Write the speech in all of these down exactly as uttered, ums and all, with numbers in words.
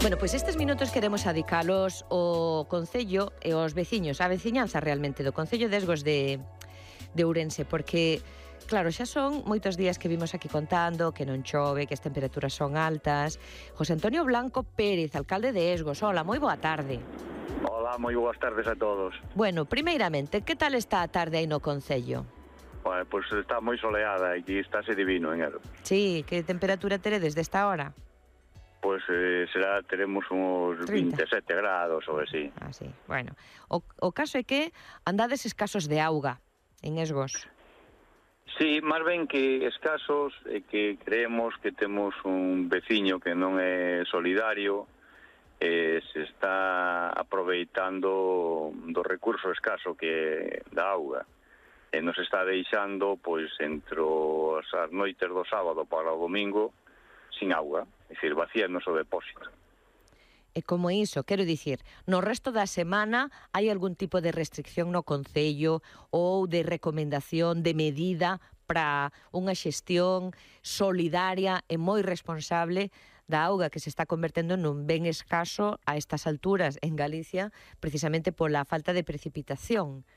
Bueno, pois estes minutos queremos adicalos ao Concello e aos veciños, a veciñanza realmente do Concello de Esgos de, de Ourense, porque, claro, xa son moitos días que vimos aquí contando que non chove, que as temperaturas son altas. José Antonio Blanco Pérez, alcalde de Esgos, hola, moi boa tarde. Hola, moi boas tardes a todos. Bueno, primeiramente, que tal está a tarde aí no Concello? Bueno, pois pues está moi soleada e aquí estáse divino en Ero. Sí, que temperatura teredes desta hora? Pois pues, eh, será, teremos uns trinta. veinte e sete grados ou así. Ah, sí. Bueno, o, o caso é que andades escasos de auga en Esgos. Sí, máis ben que escasos é que creemos que temos un veciño que non é solidario e se está aproveitando do recurso escaso que da auga e nos está deixando pois entre as noites do sábado para o domingo sin auga, é dicir, vacíanos o depósito. E como iso, quero dicir, no resto da semana hai algún tipo de restricción no Concello ou de recomendación, de medida para unha xestión solidaria e moi responsable da auga que se está convertendo nun ben escaso a estas alturas en Galicia, precisamente pola falta de precipitación?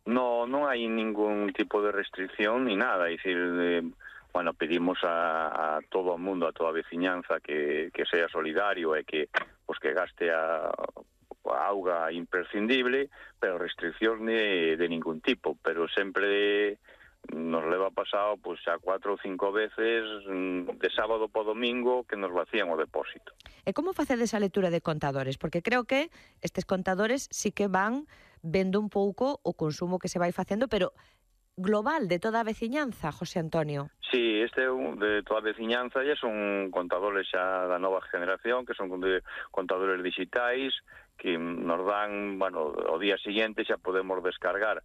No, non hai ningún tipo de restricción ni nada, é dicir, eh, bueno, pedimos a, a todo o mundo, a toda a veciñanza que, que sea solidario e que pues, que gaste a, a auga imprescindible, pero restricción de, de ningún tipo, pero sempre nos leva pasado pues, a cuatro ou cinco veces de sábado po domingo que nos vacían o depósito. E como facedes a lectura de contadores? Porque creo que estes contadores sí que van vendo un pouco o consumo que se vai facendo, pero global de toda a veciñanza, José Antonio. Sí, este é un de toda a veciñanza e son contadores xa da nova generación, que son contadores digitais, que nos dan, bueno, o día siguiente xa podemos descargar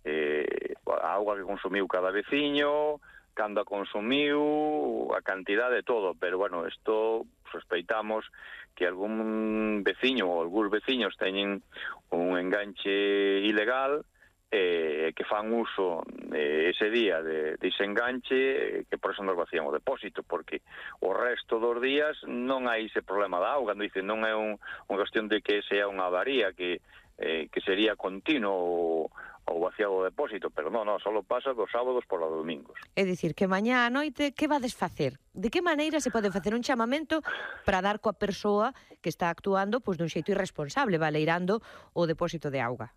eh, a auga que consumiu cada veciño, cando a consumiu, a cantidad de todo, pero bueno, isto sospeitamos que algún veciño ou algúns veciños teñen un enganche ilegal eh, que fan uso eh, ese día de, de ese enganche eh, que por eso nos vacían o depósito, porque o resto dos días non hai ese problema da auga, non, dice, non é un, unha cuestión de que sea unha avaría que, eh, que sería continuo o, o vaciado o depósito, pero non, non, só pasa dos sábados por os domingos. É dicir, que mañá a noite, que vades facer? De que maneira se pode facer un chamamento para dar coa persoa que está actuando pois, dun xeito irresponsable, baleirando o depósito de auga?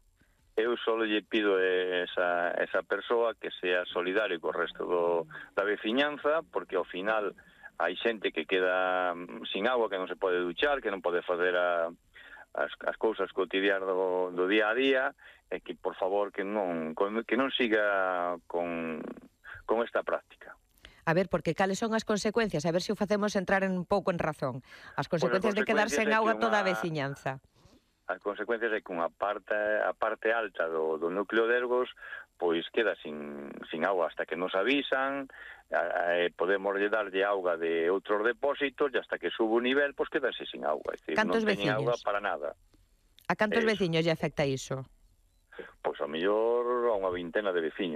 Eu só lle pido a esa, esa persoa que sea solidario co resto do, da veciñanza, porque ao final hai xente que queda sin agua, que non se pode duchar, que non pode fazer a, as, as cousas cotidianas do, do día a día, e que, por favor, que non, que non siga con, con esta práctica. A ver, porque cales son as consecuencias? A ver se o facemos entrar un pouco en razón. As consecuencias, bueno, de quedar sen auga unha... toda a veciñanza. As consecuencias é que unha parte, a parte alta do, do núcleo de Esgos pois queda sin, sin auga hasta que nos avisan, eh, podemos darlle auga de outros depósitos e hasta que sube o nivel, pois quedase sin auga. É dicir, cantos non teñen veciños? auga para nada. A cantos Eso. veciños lle afecta iso? Pois a mellor a unha vintena de veciños.